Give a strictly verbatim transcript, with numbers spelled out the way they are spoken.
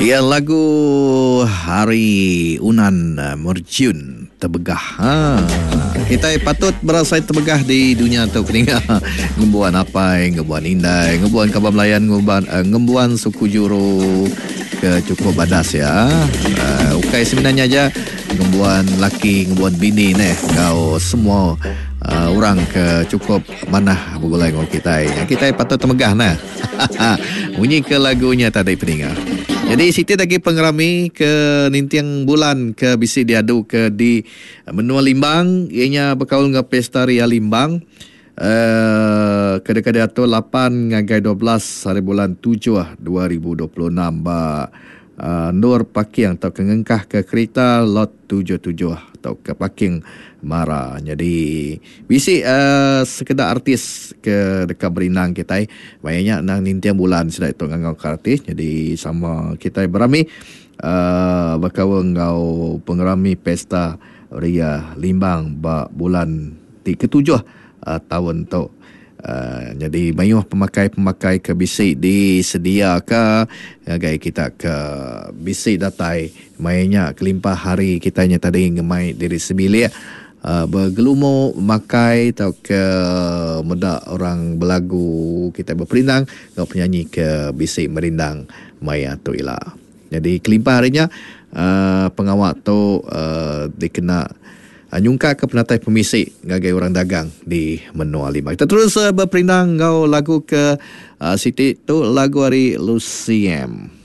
Ya, lagu Hari Unan Merjun Tebegah. Ha. Kita patut berasa tebegah di dunia tu keninga. Ngembuan apai, ngembuan indai, ngembuan kaban belayan, ngembuan, uh, ngembuan suku juru ke cukup badas ya. Uh, ukai sebenarnya aja ngembuan laki, ngembuan bini neh kau semua uh, orang ke cukup manah begulai ngau kita. Kita patut temegah nah. Bunyi ke lagunya tadi peninga. Jadi Siti lagi pengerami ke nintiang bulan ke bisi diadu ke di Menua Limbang, ianya berkaul dengan Pesta Ria Limbang. Uh, kada-kada atur lapan ngagai dua belas hari bulan tujuh dua ribu dua puluh enam ba uh, Nur Parking atau ke ngengkah ke kereta lot tujuh tujuh atau ke parking Mara. Jadi bisi uh, sekedar artis ke dekat berindang kita. Bayarnya nang nintiang bulan sudah itu ngangau ke artis. Jadi sama kita berami uh, berkaul ngau pengerami Pesta Ria Limbang ba bulan ti ketujuh uh, tahun tu. Uh, jadi mayuh pemakai-pemakai ke bisi disediakan agai kita ke bisi datai mainnya kelimpah hari kitanya tadi ngemai diri sebilik uh, bergelumuk makai atau ke medak orang belagu kita berperindang atau penyanyi ke bisi merindang maya tu ila. Jadi kelimpah harinya uh, pengawak tu uh, dikena nyungka ke penatai pemisi ngagai orang dagang di Menua Lima. Kita terus uh, berperindang ngau lagu ke uh, Siti tu lagu hari Luciem.